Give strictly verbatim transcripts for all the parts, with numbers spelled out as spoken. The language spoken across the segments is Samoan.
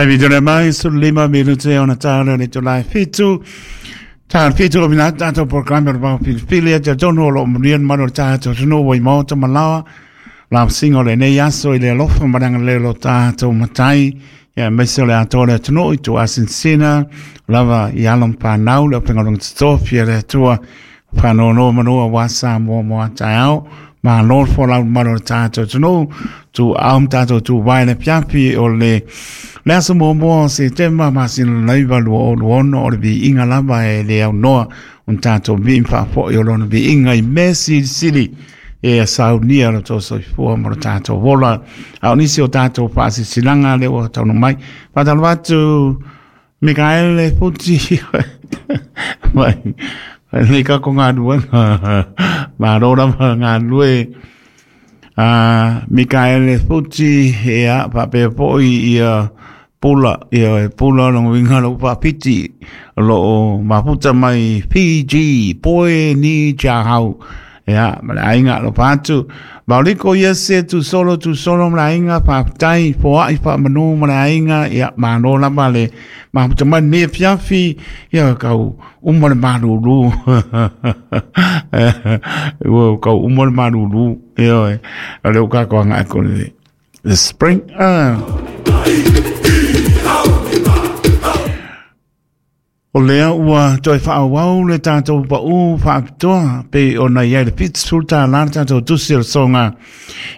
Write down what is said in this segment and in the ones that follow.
Taimi tole mai su lima minute ona tāle le tolai fitu. Tā fitu o mina tātou programe o le pao pilipili a te tonu o lo munian manu o tātou tunu o i maota malawa. La singo le nei aso i le alofa maranga le lo tātou matai. Ia meise o le atoa le tunu i tu asinsina. Lava i alom pānau le openga longa tatofi le atua. Whanono manua wasa mua mua taeao. Ma lord for lau manu o tātou tunu. Tu aum tātou tu waile piapi o le le aso mua se tema ma sin laiva lua o luono o le vi inga lava e le au noa un tātou vi mfa i o lona vi inga i mesi sili e a saunia lo tō soifua mo lo tātou wola. A o nisi o tātou whaasi silanga le o taunu mai. Whātalo atu Mikael e puti mai le ka ko ngā nuenga mā rora ma ngā nue a Mikael e puti e a pape poi ia pula ia pula lo winga lo papiti lo maputa mai P G poe ni chahau ia ma le ainga lo patu Mauliko ia se tu solo tu solo ma le ainga patai poai pa manu ma le ainga ia mano la male maputa mai ne fiafi ia kau uma le maruru ua kau uma le maruru ia o le uka ko anga ko le the spring ah O lea ua toi whaawau le tātou pa u whaapitoa pe o na ia le pit sulta la tātou tusi o songa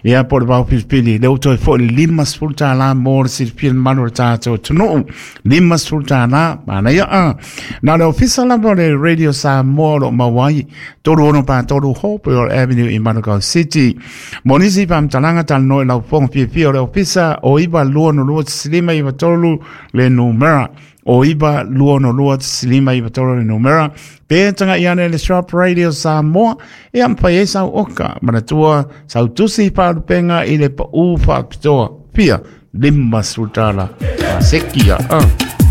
ia po le pau pilipili le toi fo le lima sulta la mo le silipili manu le tātou tunuu lima sulta la mana ia a na le ofisa la mo le Radio Samoa lo mawai toru ono pa toru Hope Avenue i Manukau City monisi pamtalanga talanoa i lau fonga fiafia o le ofisa o iwa lua no lua silima iwa tolu le numera o iwa lua no lua silima iwa tolu le numera pe tanga iane le Shop Radio Samoa e ampai e sau oka manatua sau tusi wharupenga i le pa u whapitoa pia lima sultala sekia ah.